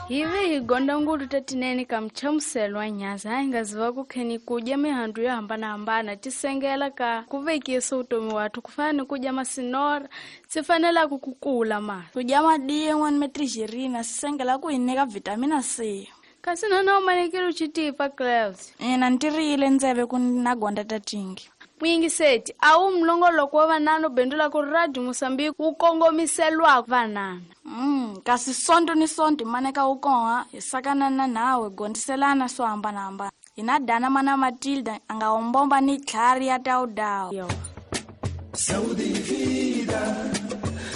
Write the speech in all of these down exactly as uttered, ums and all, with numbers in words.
Hi ve hi gonda ngulu tatinene ka mchamuselo wa nyaza hi nga ziva ku kheni kudya mihandzu yo hambanahambana tisengela ka ku vekisa utomi wathu ku fana ni kudya masinora swi fanelaka ku kula ma kudya madin'wa ni metrijerina swi sengela ku hi nyika vitamina C. Kasi nona u manekile u xitipa Clevs. Ina ntirile ndzeve ku na gonda tatingi. Muyingiseti a wu mlongoloko wa vanana u bendula ku Radio Mozambique wu kongomiselwa vanana. Mm, kasi sonto ni sonto maneka wu koha hi sakana na nawe gondiselana swo hambanahambana. Hi na Dana mana Matilda a nga wombomba ni tlhari ya tawudawu. Yo. Saudi vida,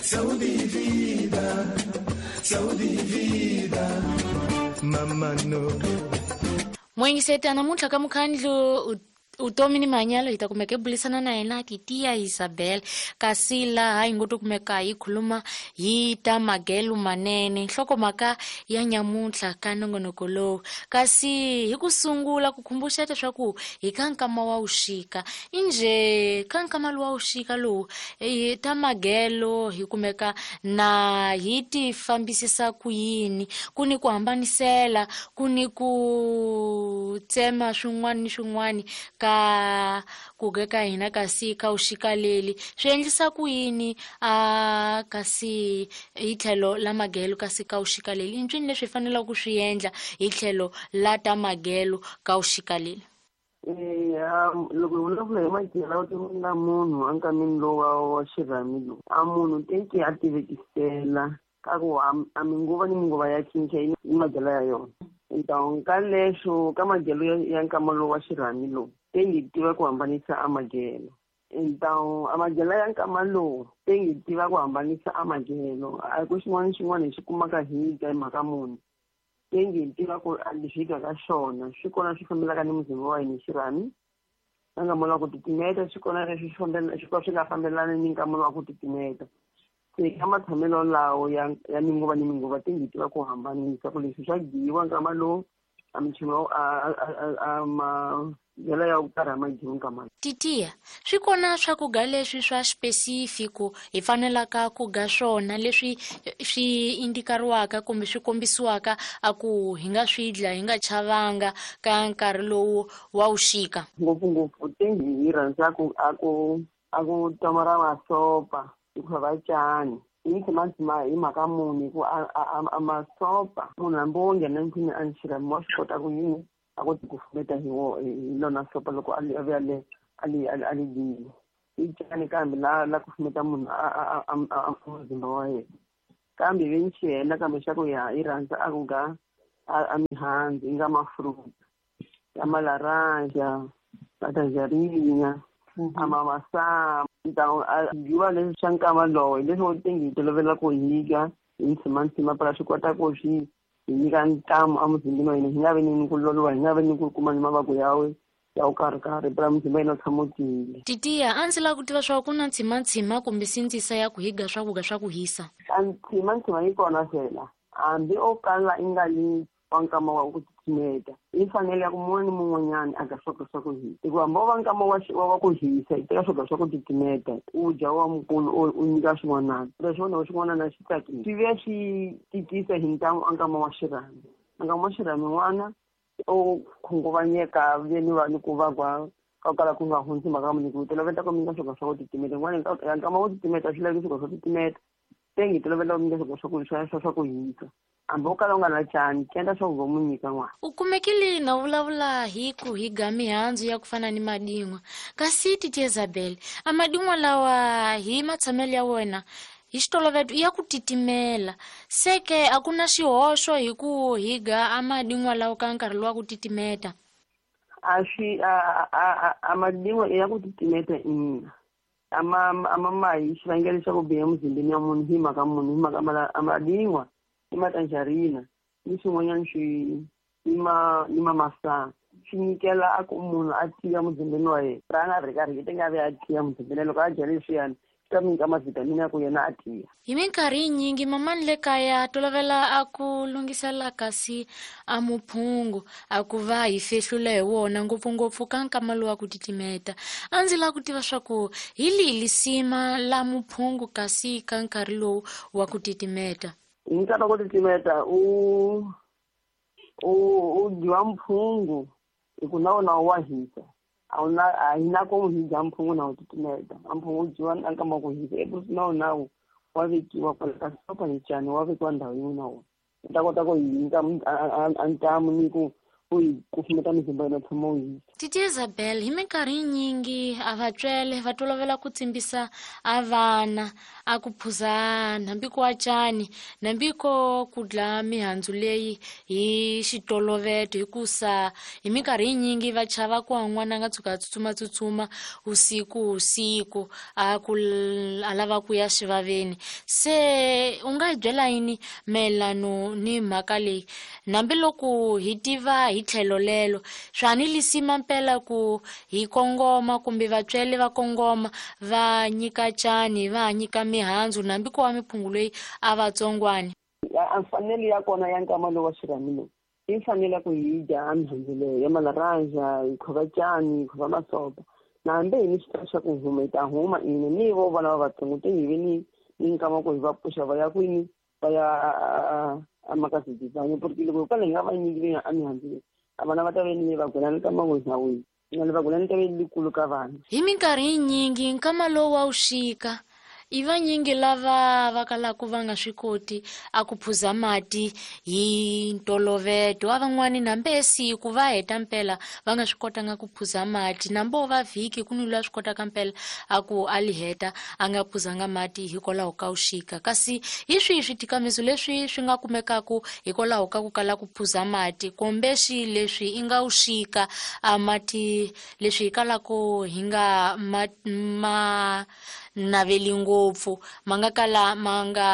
Saudi vida, Saudi vida, mama no. Muyingiseti namuntlha ka mukhandlu utomi ni manyalo hi ta kumeka hi bulisana na yena Titia Isabel kasi laha hi ngo to kumeka hi khuluma hi ta magelo manene nhlokomhaka ya nyamuntlha ka nongonoko lowu. Kasi hi ku sungula ku khumbuxa leswaku hi ka nkama wa wuxika inje ka nkama lowu wa wuxika lowu hi ta magelo hi kumeka na hi ti fambisisa ku yini ku ni ku hambanisela ku ni ku tsema swin'wana ni swin'wana ka ku ka hina kasi ka wuxika leli swi endlisa ku yini a kasi hi tlhelo la magelo kasi ka wuxika leli i ncini leswi hi fanelaka ku swi endla hi tlhelo la ta magelo ka wuxika leli. Eya loko hi vulavula hi magelo vutomi la munhu enkameni lowu wa wa xirhami lowu a munhu teki a tivekisela ka ku a minguva ni minguva ya cinca yi magelo ya yona. Então ka leswo ka magelo ya nkama lowu wa xirhami lowu tengi tiva ku hambanisa a magelo. Então a magelo ya nkama lowu tengi tiva ku hambanisa a magelo a ku xin'wana xin'wana hi xi kumaka hi dya hi mhaka munhu tengi tiva ku leswi hi dyaka xona swi kona swi fambelaka ni muzimba wa hina hi xirhami na nkama lowa ku titimeta swi kona leswi swi swi nga fambelani ni nkama lowa ku titimeta. Se ka matshamelo lawo ya ya minguva ni minguva tengi tiva ku hambanisa ku leswi swa dyiwa nkama lowu a michumu a a ma ya ku karhi ma dyiwa nkama. Titia swi kona swakudya leswi swa specific hi fanelaka ku ga swona leswi swi indikariwaka kumbe swi kombisiwaka a ku hi nga swi dla hi nga chavanga ka nkarhi lowu wa wuxika. Ngopfungopfu tengi hi rhandza ku a ku a ku tomara masopa hikuva va cani hi tshama hi mhaka muni ku a a masopa munhu hambi wo nghena ndlwini a xirhami wa swi kota ku yini a koti ku fumeta hi wo hi lona sopa loko a li a vuya le a li a li dyile i cani kambe la la ku fumeta munhu a a a muzimba wa yena kambe ve ni xihela kambe xa ku ya hi rhandza a ku ga a mihandzu yi nga ma-fruit ya malaranja matanjarinya a mamasama. Então a dyiwa leswi swa nkama lowu hi leswi wo tengi hi tolovela ku hi dya hi ntshimantsima phela swi kota ku swi hi nyika ntamu emuzimbeni wa hina hi nga vi ni ku loloha hi nga vi ni ku kuma ni mavabyi ya ya ku karhi-karhi phela muzimba wa hina wu tshama wu tiyile. Titia a ndzi lava ku tiva swa ku na ntshimantsima kumbe sindzisa ya ku hi ga swakudya swa ku hisa. A ntshimantsima yi kona fela hambi o kala i nga li wa nkama wa ku titimeta yi fanele ya ku mun'wana ni mun'wanyana a ga swakudya swa ku hisa hikuva hambi wo va nkama wa wa ku hisa i teka swakudya swa ku titimeta u dya wa mukulu u nyika swin'wanana leswi xin'wanana xi tsakile swi vuya swi tikisa hi ntamu a nkama wa xirhami. A nkama wa xirhami n'wana o khunguvanyeka ve ni va ni ku va kwa ka kala ku nga hundzi mhaka muni ku toloveta ku nyika swakudya swa ku titimeta n'wana nkama wo titimeta swi laveki swakudya swa titimeta tengi tolovela ku nyika swakudya swa ku swa swa ku hisa hambi wo kala u nga na cani endla swa ku va mu nyika n'wana. U kumekile na vulavula hi ku hi ga mihandzu ya ku fana ni madin'wa kasi Titia Isabel a madin'wa lawa hi matshamelo ya wena hi xitoloveto ya ku titimela se ke a ku na xihoxo hi ku hi ga a madin'wa lawa ka nkarhi lowa ku titimeta. A swi a a a madin'wa ya ku titimeta ina ama ama mahi xivangelo xa ku biha emuzimbeni ya munhu hi mhaka munhu hi mhaka a madin'wa i matanjarina ni swin'wanyana swi ni ma ni mamasana swi nyikela a ku munhu a tiya muzimbeni wa yena ra nga ri karhi yi nga vi a tiya muzimbeni loko a dya leswiyani swi ta mu nyika ma-vitamin ya ku yena a tiya. Hi minkarhi yinyingi mamani le kaya tolovela a ku lunghisela kasi a muphungu a ku va hi fehlula hi wona ngopfungopfu ka nkama lowu wa ku titimeta. A ndzi lava ku tiva swa ku hi lihi lisima la muphungu kasi ka nkarhi lowu wa ku titimeta. Hi nkarhi wa ku titimeta u u u dyiwa mphungu hi ku na wona wa hisa. A wu na a hi na ku hi dya mphungu na wu titimeta. A mphungu wu dyiwa na nkama wa ku hisa ebusi na wona wa vekiwa kwala ka sopa ni cani wa vekiwa ndhawu yin'we na wona. U ta kota ku hi nyika a ntamu ni ku u hi kufumeta mizimba yona tshama u hisa. Titi Isabel, hi minkarhi yinyingi a vatswele va tolovela ku tsimbisa a vana a ku phuzana hambi ko cani hambi ko ku dla mihandzu leyi hi xitoloveto hikusa hi minkarhi yinyingi va chava ku n'wana a nga tshuka a tsutsuma tsutsuma usiku usiku a ku a lava ku ya xivaveni. Se u nga hi byela yini mayelano ni mhaka leyi hambiloko hi tiva hi tlhelo lelo swa ni lisima mpela ku hi kongoma kumbe vatswele va kongoma va nyika cani va nyika mihandzu hambi ko wa miphungu leyi a vatsongwani? A mfanelo ya kona ya nkama lowu wa xirhami lowu i fanele ku hi dya mihandzu leyo ya malaranja, hi khova cani, hi khova masopa. Na hambi hi ni xitalo xa ku huma hi ta huma ina ni vo vana va vatsongo te hi ve ni ni nkama ku hi va pfuxa va ya kwini va ya a makazidizanye porque loko hikwalaho hi nga va nyiki a mihandzu leyi a vana va ta ve ni va gwelani ka mawina wihi na va gwelani ta ve likulu ka vana. Hi minkarhi yinyingi nkama lowu wa wuxika i vanyingi lava va kalaka va nga swi koti a ku phuza mati hi ntoloveto. A van'wani nambe siku va heta mpela va nga swi kotanga ku phuza mati, nambo va vhiki ku ni loyi a swi kotaka mpela a ku a li heta a nga phuzanga mati hikwalaho ka wuxika. Kasi hi swihi switikamiso leswi swi nga kumekaku hikwalaho ka ku kala ku phuza mati kumbe xi leswi i nga wuxika a mati leswi hi kalaka hi nga ma, ma naveli ngopfu ma nga kala ma nga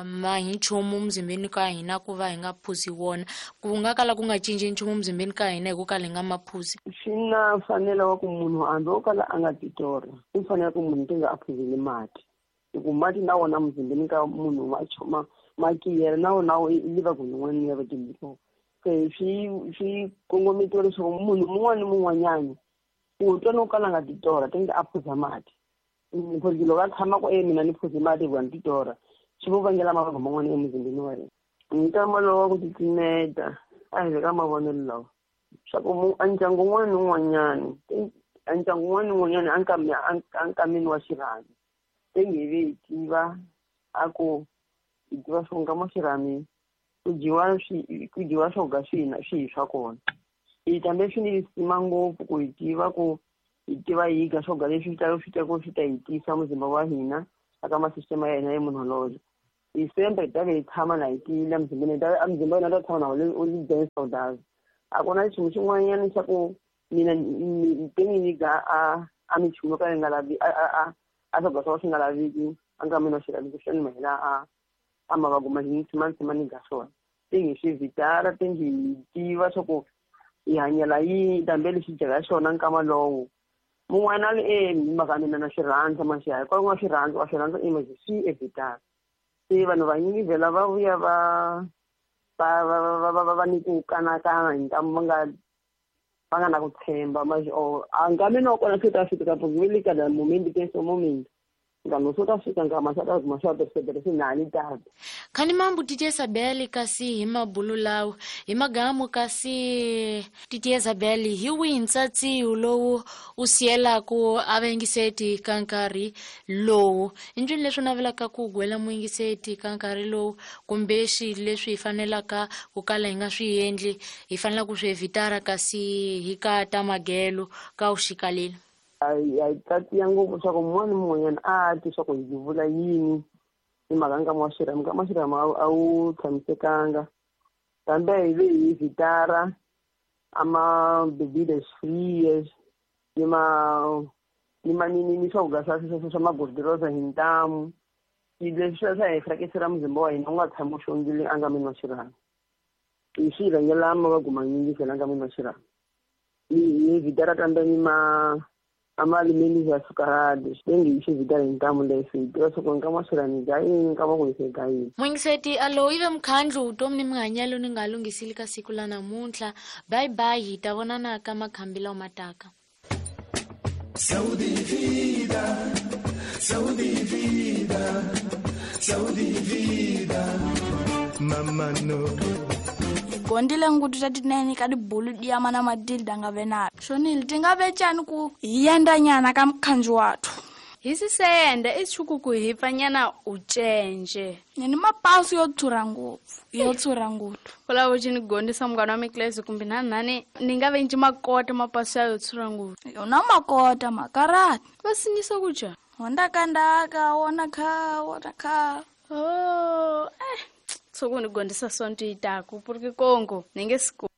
ma hi nchumu muzimbeni ka hina ku va hi nga phuzi wona, ku nga kala ku nga cinci nchumu muzimbeni ka hina hi ku kala hi nga ma phuzi? Swi na mfanelo wa ku munhu hambi wo kala a nga titorha i fanele ku munhu tinga a phuzile mati hi ku mati na wona muzimbeni ka munhu ma choma ma kiyela na wona i liva ku yin'wana ya vatimbiso. Se swi swi kongometiwa leswaku munhu mun'wana ni mun'wanyana u twa no kala a nga titorha tinga a phuza mati. Porque loko a tshama ku e mina ni phuze mati hikuva ni titorha swi vo vangela mavabyi man'wana emuzimbeni wa yena. Nkama lowu wa ku titimeta a hi le ka mavonelo lawa swa ku a ndyangu wun'wana ni wun'wanyana a ndyangu wun'wana ni wun'wanyana a nkameni wa xirhami te nge ve hi tiva a ku hi tiva swo nkama wa xirhami ku dyiwa swi ku dyiwa swo ga swihi na swihi swa kona. Hi tambe swi ni lisima ngopfu ku hi tiva ku hi tiva hi ga swo ga leswi ta swi ta ku swi ta hi tiyisa muzimba wa hina aka masistema ya hina ya immunology. Hi sembe hi ta ve hi tshama na hi tiyile emuzimbeni hi ta a muzimba wa hina ta tshama na wu li dense A ku na nchumu xin'wanyana xa ku mina te ni nyika a a minchumu yo ka yi nga lavi a a a swakudya swa swi nga laveki a nga mina swi laveki swi ni mahela a a mavabyi ma ni tshama ni tshama ni ga swona. Te ngi swi vitara te ngi tiva swa ku hi hanyela yini dambe lexi dyaka xona nkama lowu. Mun'wana a li e mhaka mina na swi rhandza maxi hayi kwala ku nga swi rhandza wa swi rhandza i manje swi evitara. Se vanhu vanyingi vhela va vuya va va va va va va ni ku kanakana hi ntamu va nga va nga na ku tshemba manje or a nkameni wa kona swi ta fika ka le ka moment ke so moment nkama swo ta fika nkama swa ta kuma swa tirhisa nani tata. Khani mambu Titi Isabel kasi hi mabulu lawo hi magamu kasi Titi Isabel hi wihi ntsatsiwu lowu u siyelaku a vayingiseti ka nkarhi lowu i ncini leswi u navelaka ku gwela muyingiseti ka nkarhi lowu kumbe xi leswi hi fanelaka ku kala hi nga swi endli hi fanelaka ku swi evitara kasi hi ka ta magelo ka u xikaleli? A hi tatiya ngopfu swa ku mun'wana ni mun'wanyana a twi swa ku hi vula yini hi mhaka nkama wa xirhami. Nkama wa xirhami a wu tshamisekanga kambe hi ve hi vitara a ma bebidas frias ni ma ni ma ni ni swakudya swa swa swa magordirosa hi ntamu leswi swa hi frakisela muzimba wa hina wu nga tshami wu xongile enkameni wa xirhami. Hi swi rhangela mavabyi manyingi fela enkameni wa xirhami. Hi vitara kambe ni ma amali açucarados tengi xi vitana hi ntamu leswi hi tiva swa ku nkama wa xirhami ga yini nkama ku hise ga yini. Muyingiseti alo ive mukhandlu vutomi ni mihanyelo ni nga lunghisili ka siku la namuntlha. Bye bye, hi ta vonana ka makhambi lawa mataka. Saúde e vida, saúde e vida, saúde e vida. Mamano. Gondile ngutu tatinene ka dibulu dia mana Matilda nga ve na. Shonile tinga ve tjani ku hi yenda nyana ka mukhanju wathu. Hi sisenda i tshuku hi pfanyana u cenje. Ni ni mapasu yo tshura ngopfu, yo tshura ngopfu. Kola wo ni gondisa mngana wa miklesi kumbe nani ni nga venji makota mapasu ya yo tshura ngopfu. Yona makota makarati. Va sinyisa ku ja. Honda kandaka wona kha wona kha. Oh, eh. Tsoko ni gondisa sonto itaku porque Kongo ninge siku.